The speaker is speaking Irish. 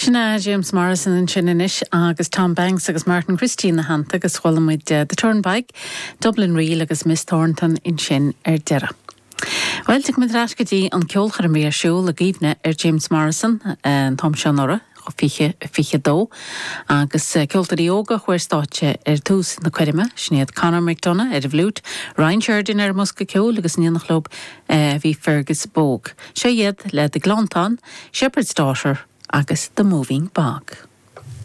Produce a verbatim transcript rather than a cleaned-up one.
Sin é James Morrison ansin anois agus Tom Banks agus Martin Christie ina theannta agus chuala muid uh, The Turnpike, Dublin Reel agus Miss Thornton ansin ar deireadh. Well muid ar ais go dtí an ceolchoirm ar siúl i gcuimhne ar James Morrison an t-am seo anuraidh fiche fiche dó agus ceoltóirí óga a chuir stáitse ar tús na coirme sin iad Conor McDonough ar an bhfliúit, Ryan Sheridan ar an mbosca ceoil agus in éineacht leo bhí Fergus Bogue. Seo iad le The Gleanntáin, Shepherd's Daughter agus The Moving Bog.